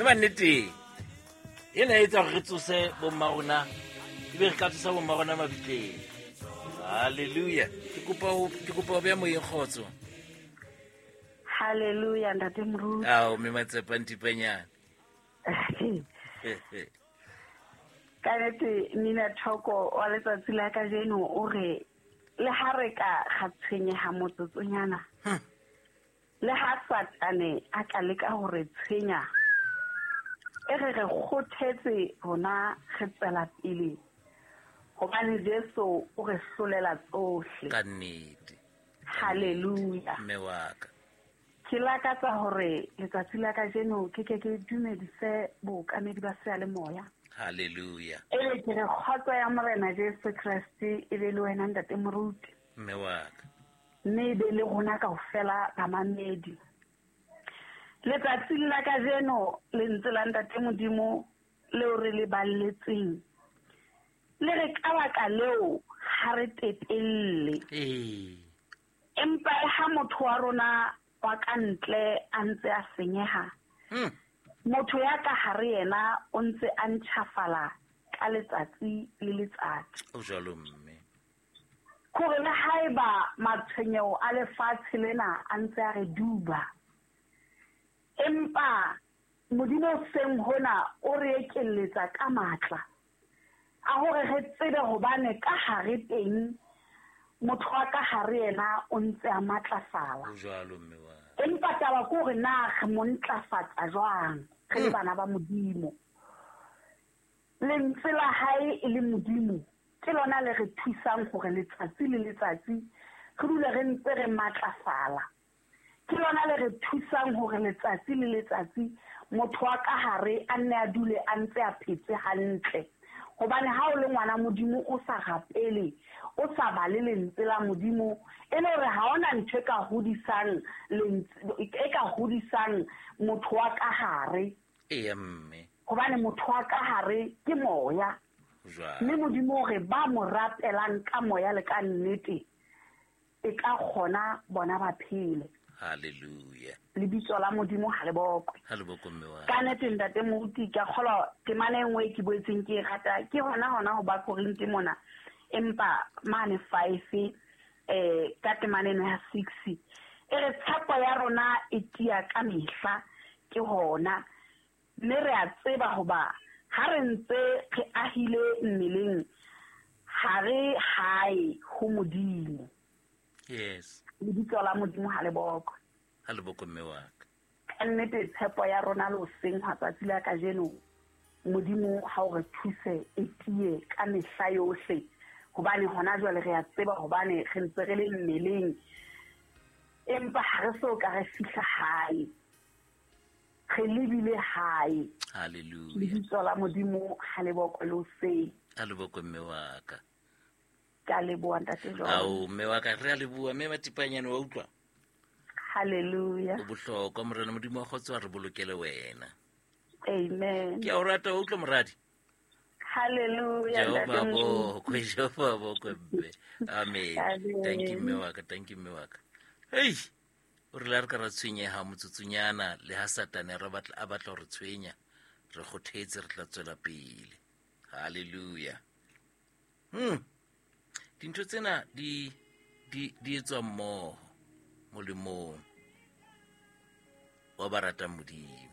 Mme manneteng ena e etsa gore re tsose bomma rona, ebe re ka tsosa bomma rona mabitleng. Halleluja. Ke kopa ho beha moyeng kgotso. Halleluja, ntate Moruti. Ao, mme Matsepa Ntipanyane. Ka nnete Nina Thoko wa letsatsi la kajeno o re le ha re ka ga tshwenyeha motsotsonyana, le ha Satane a ka leka ho re tshwenya, e re re kgothetse rona re tswela pele, hobane Jesu o re hlolela tsohle. Ka nnete. Halleluja. Mme wa ka. Ke lakatsa hore letsatsi la kajeno ke ke ke dumedise bookamedi ba seyalemoya. Halleluja. Ebe ke re kgotso ya Morena Jesu Kreste e be le wena ntate Moruti. Mme wa ka. Mme e be le rona kaofela bamamedi. Letsatsing la kajeno lentswe la ntate Modimo leo re le balletseng le re ka baka leo ha re tepelle. Empa le ha motho wa rona wa ka ntle a ntse a senyeha, motho ya ka hare yena o ntse a ntjhafala ka letsatsi le letsatsi. O jwalo mme. Kore le haeba matshwenyeho a lefatshe lena a ntse a re duba, empa Modimo seng hona o re ekelletsa ka matla a hore re tsebe hobane ka hare teng motho wa ka hare yena o ntse a matlafala. O jwalo mme wa. Empa taba ke hore na re mo ntlafatsa jwang re le bana ba Modimo. Lentswe la hae e le Modimo ke lona le re thusang hore letsatsi le letsatsi re dule re ntse re matlafala. Ke lona le re thusang hore letsatsi le letsatsi motho wa ka hare a nne a dule a ntse a phetse hantle. Hobane ha o le ngwana Modimo o sa rapele, o sa bale lentswe la Modimo, e le hore ha hona ntho e ka hodisang e ka hodisang motho wa ka hare. Eya mme. Hobane motho wa ka hare ke moya. Mme Modimo o re ba mo rapelang ka moya le ka nnete e ka kgona bona ba phele. Hallelujah. Lebitso la Modimo ha le bokwe. Ha le bokwe mme wa. Ka nnete ntate Moruti ka kgolwa temana e nngwe ke boetseng ke e rata ke hona hona ho ba Korinte mona, empa mane 5 ka temana eno ya 6 e re tshepo ya rona e tiya ka mehla ke hona, mme re a tseba hoba ha re ntse re ahile mmeleng ha re hae ho Modimo. Yes. Lebitso la Modimo ha le bokwe. Ha le bokwe mme wa ka. Ka nnete tshepo ya rona le hoseng hwa tsatsi la kajeno, Modimo ha o re thuse e tiye ka mehla yohle, hobane hona jwale re a tseba hobane re ntse re le mmeleng, empa ha re so ka re fihla hae. Re lebile hae. Hallelujah. Lebitso la Modimo ha le bokwe le hoseng. Ha le bokwe mme wa ka. Ka leboha ntate John. Ao mme wa ka re a leboha mme Matipanyane wa utlwa. Hallelujah. O bohlokwa Morena Modimo wa kgotso a re bolokele wena. Amen. Ke a o rata wa utlwa moradi. Hallelujah. Jehova bokwe, Jehova bokwe mme. Amen. Thank you mme wa ka, thank you mme wa ka. Hey. O re la re ka ra tshwenyeha motsotsunyana le ha Satane re batla a batla re tshwenya, re kgothetse re tla tswela pele. Hallelujah. Dintho tsena di etswa mmoho molemong wa ba ratang Modimo.